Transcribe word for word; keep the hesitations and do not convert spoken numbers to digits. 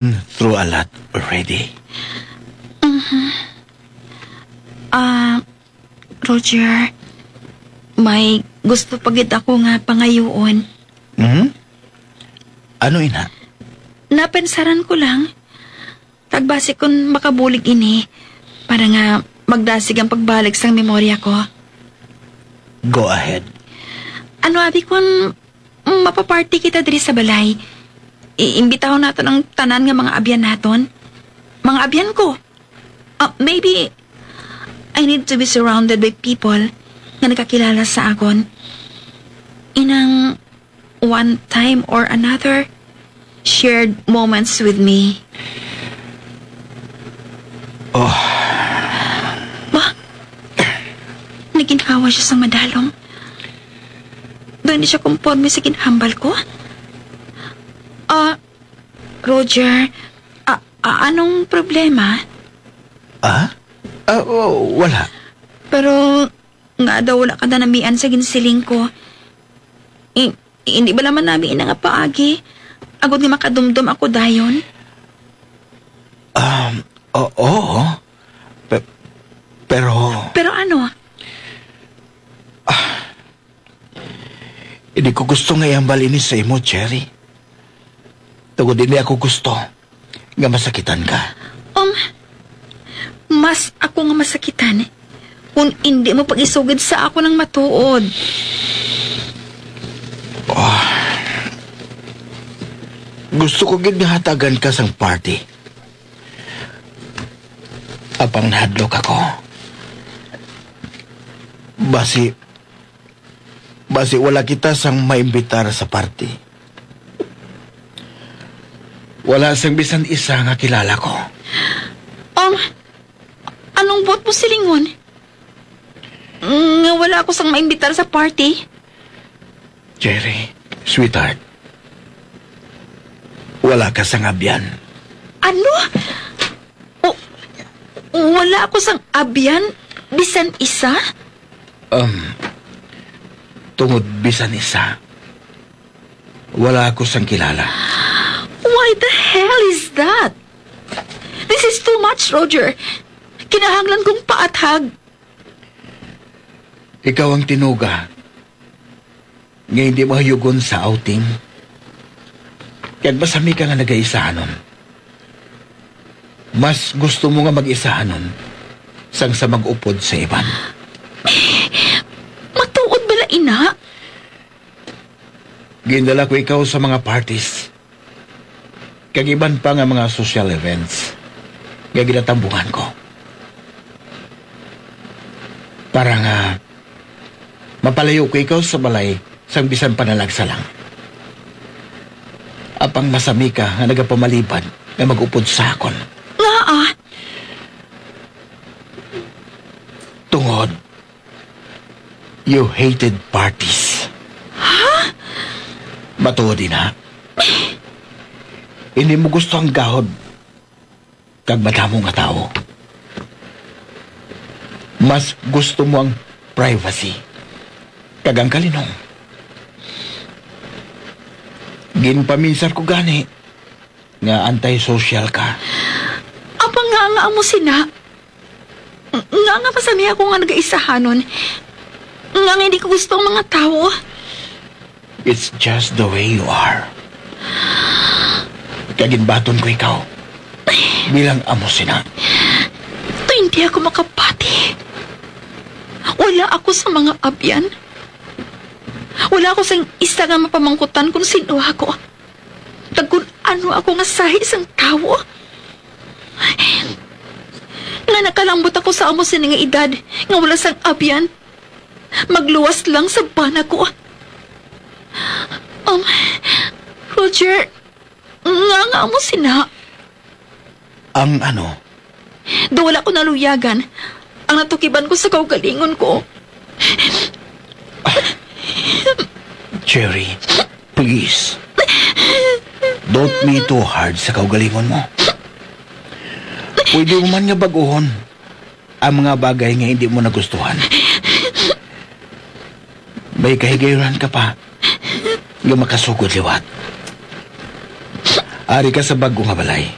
through a lot already. Ah, Roger, may gusto pa gid ako nga pangayuon. Hmm? Ano ina? Napensaran ko lang. Kag basi kon makabulig ini, para nga magdasig ang pagbalik sang memorya ko. Go ahead. Ano abi kon mapaparty kita diri sa balay? Iimbitahon naton ang tanan nga mga abyan naton. Mga abyan ko. Ah, maybe I need to be surrounded by people nga nakakilala sa akon. Inang one time or another, shared moments with me. Oh. Ba? Naginhawa siya sa madalom. Daw hindi siya komporme sa ginhambal ko. Ah, Roger, ah, ah, anong problema? Ah? Ah, oh, wala. Pero nga daw wala ka nanamian sa ginsiling ko. I-, hindi bala man nami ina nga paagi, agod nga makadumdom ako dayon? Um, o-, oo. Pe-, pero Pero ano? Hindi ko gusto nga ihambal ini sa imo, Cherry. Tungod hindi ako gusto nga masakitan ka. Um, mas ako nga masakitan kung hindi mo pag-isugid sa ako ng matuod. Ah, gusto ko gid nga hatagan ka sang party. Apang nahadlok ako. Basi, basi wala kita sang maimbitar sa party. Wala sang bisan isa nga kilala ko. Um, anong buot mo silingon? Nga wala ako sang maimbitar sa party? Cherry, sweetheart, wala ka sang abyan. Ano? O, wala ako sang abyan, bisan isa? Um, tungod bisan isa, wala ako sang kilala. Why the hell is that? This is too much, Roger. Kinahanglan kong paathag. Ikaw ang tinuga nga hindi mahayugon sa outing. Kag masami ka nga nagaisahanon. Mas gusto mo nga mag-isahanon sang sa mag-upod sa iban. Matuod bala ina? Gindala ko ikaw sa mga parties kag iban pa nga mga social events nga ginatambungan ko, para nga mapalayo ko ikaw sa balay sang bisan panalagsa lang. Apang masami ka nga nagapamalibad nga mag-upod sa akon. Ngaa? Tungod you hated parties. Ha? Matuod ina. Hindi mo gusto ang gahod kag madamo nga tawo. Mas gusto mo ang privacy kag ang kalinong. Ginpaminsar ko gani nga anti-social ka. Apang nga nga amo sina? Ng-, nga nga masami ako nga nagaisahanon? Nga nga hindi ko gusto ang mga tawo? It's just the way you are. Kag ginbaton ko ikaw bilang amo sina. Hindi ako makapati. Wala ako sa mga abyan. Wala ako sang isa nga mapamangkutan kung sino ako. Kag kun ano ako nga sahi sang tawo, nga nakalambot ako sa amo sini nga edad, nga wala sang abyan, magluwas lang sa bana ko. Um, Roger, nga nga amo sina? Ang ano? Daw wala ko naluyagan ang natukiban ko sa kaugalingon ko. Cherry, please. Don't be too hard sa kaugalingon mo. Pwede mo man nga bag-ohon ang mga bagay nga hindi mo nagustuhan. May kahigayunan ka pa nga makasugod liwat. Ari ka sa bag-o nga balay.